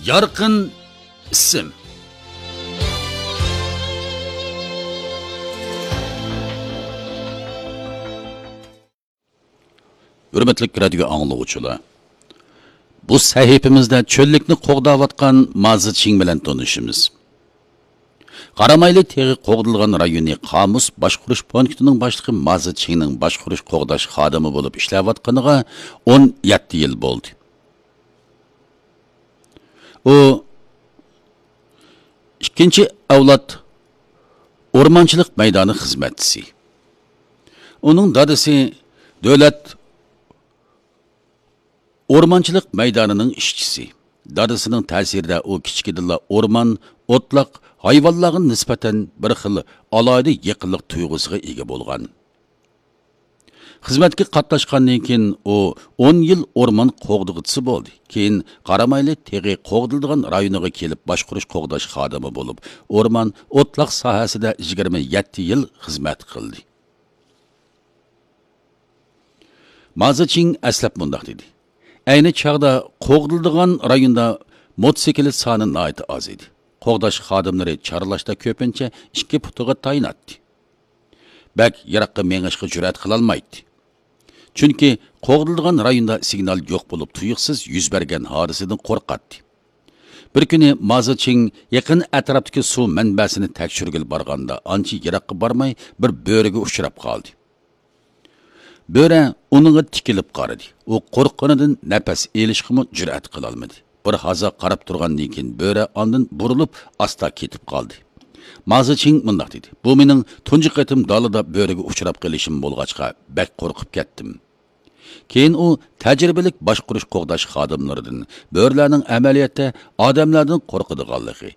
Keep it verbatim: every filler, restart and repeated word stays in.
يارقىن ئىسىم. ھۆرمەتلىك رادىيو ئاڭلىغۇچىلار، بۇ سەھىپىمىزدە چۆللۈكنى قوغداۋاتقان مازى چىڭ بىلەن تونۇشىمىز. قارامايلى تېغى قوغدىلغان رايونى قامۇس باشقۇرۇش پونكىتىنىڭ باشلىقى مازى چىڭنىڭ باشقۇرۇش قوغداش خادىمى بولۇپ ئىشلەۋاتقىنىغا ئون يەتتە يىل بولدى. ئۇ ئىككىنچى ئەۋلاد ئورمانچىلىق مەيدانى خىزمەتچىسى. ئۇنىڭ دادىسى دۆلەت ئورمانچىلىق مەيدانىنىڭ ئىشچىسى. دادىسىنىڭ تەسىرىدە ئۇ كىچىكىدىنلا ئورمان، ئوتلاق، ھايۋانلارغا نىسبەتەن بىر خىل ئالاھىدە يېقىنلىق تۇيغۇسىغا ئىگە بولغان. خىزمەتكە قاتناشقاندىن كېيىن ئۇ ئون يىل ئورمان قوغدىغۇچىسى بولدى. كېيىن قارامايلى تېغى قوغدىلىدىغان رايونىغا كېلىپ باشقۇرۇش قوغداش خادىمى بولۇپ، ئورمان، ئوتلاق ساھەسىدە يىگىرمە يەتتە يىل خىزمەت قىلدى. مازى چىڭ ئەسلەپ مۇنداق دېدى: ئەينى چاغدا قوغدىلىدىغان رايوندا موتوسىكلىت سانى ناھايىتى ئاز ئىدى. قوغداش خادىملىرى چارلاشتا كۆپىنچە ئىككى پۇتىغا تايىناتتى. بەك يىراققا مېڭىشقا جۈرئەت قىلالمايتتى. چۈنكى قوغدىلىدىغان رايوندا سىگنال يوق بولۇپ، تۇيۇقسىز يۈز بەرگەن ھادىسىدىن قورقاتتى. بىر كۈنى مازى چىڭ يېقىن ئەتراپتىكى سۇ مەنبەسىنى تەكشۈرگىلى بارغاندا، ئانچە يىراققا بارماي بىر بۆرىگە ئۇچراپ قالدى. بۆرە ئۇنىڭغا تىكىلىپ قارىدى. ئۇ قورققىنىدىن نەپەس ئېلىشقىمۇ جۈرئەت قىلالمىدى. بىر ھازا قاراپ تۇرغاندىن كېيىن بۆرە ئاندىن بۇرۇلۇپ ئاستا كېتىپ قالدى. مازى چىڭ مۇنداق دېدى: بۇ مېنىڭ تۇنجى قېتىم دالىدا بۆرىگە ئۇچراپ قېلىشىم بولغاچقا، بەك قورقۇپ كەتتىم. كېيىن ئۇ تەجرىبىلىك باشقۇرۇش قوغداش خادىملىرىدىن بۆرىلەرنىڭ ئەمەلىيەتتە ئادەملەردىن قورقىدىغانلىقى،